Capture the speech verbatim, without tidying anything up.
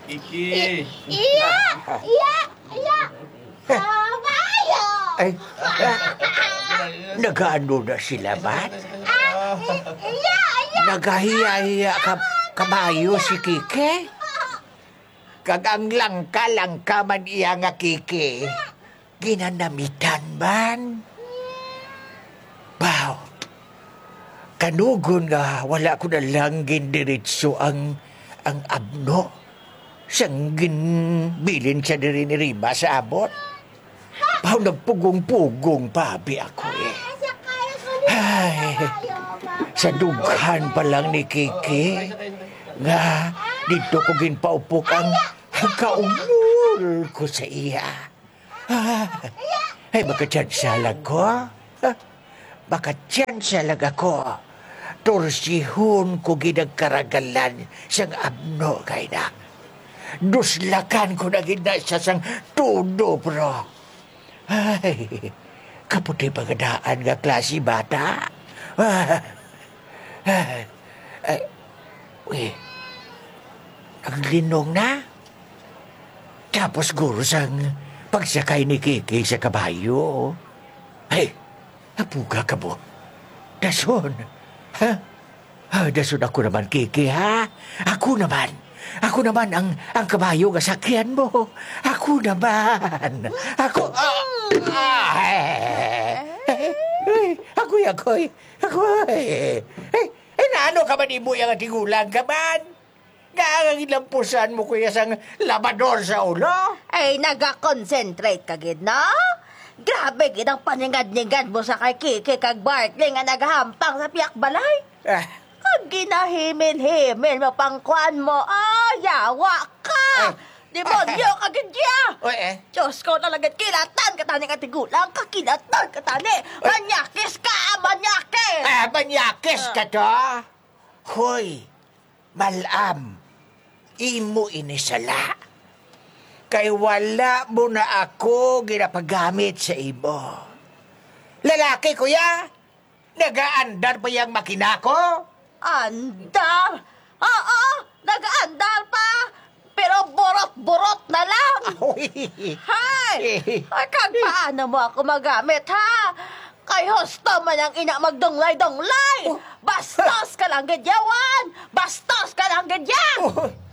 Iki. Iya! Iya! Iya! Kabayo! Ay, ah, nagaano na sila man? Ah, i-, iya! Iya! Nagahiya-hiya ka, kabayo si Kiki? Kag ang langka-langka man iya nga Kiki, ginanamitan man. Baw, kanugon nga wala ko na lang gindiretso ang, ang abno sang ginbilin siya diri ni Rima sa amon. Baw, nagpugong-pugong pa abi ako, eh. Ay, sa dughan pa lang ni Kiki nga didto ko ginpaupok ang kaumol ko sa iya. Ah, ay, makatsansa lang ko. Ah, makatsansa lang ako. Tursihon ko gid ang karagalan sang abno kay na. Duslakan ko na gid na siya sang todo, bro. Ay, kaputi pa nga daan nga klase bata. Ah, ah, ay, uy, naglinong na. Tapos guro sang pagsakay ni Kiki sa kabayo. Ay, apuga ka mo. Dason. Ha? Ah, dason ako naman, Kiki, ha? Ako naman. Ako naman ang, ang kabayo nga sakyan mo. Ako naman. Ako, ah, ah, eh, eh, eh, agoy, agoy. Agoy. Eh, eh, naano ka man imo yang tigulang ka man? Nga ang ginlampusan mo, kuya, sang labador sa ulo? Ay, nagakonsentrate ka gid, no? Grabe gid ang paningad-ningad mo sa kay Kiki kag Bartley nga nagahampang sa piyak balay. Ah. Kag ginahimil-himil mo pang kuan mo. Oh, yawa ka! Ay. Demonyo ka gid, ya! Oy, eh. Diyos ko, talaga, kilatan ka tani nga tigulang, kakilatan ka tani. Oy. Manyakis ka, manyakis! Ah, manyakis ka to? Hoy, Malam, imo ini sala. Kay wala mo na ako ginapagamit sa imo. Lalaki ko ya, nagaandar pa yang makina ko. Andar? Oo, nagaandar pa. Pero burot-burot na lang. Uy. Hay! Ay, kag paano mo ako magamit, ha? Kay husto man ang ina magdunglay-dunglay. Oh. Bastos ka lang gid, yawan! Bastos ka lang gid, ya! Oh.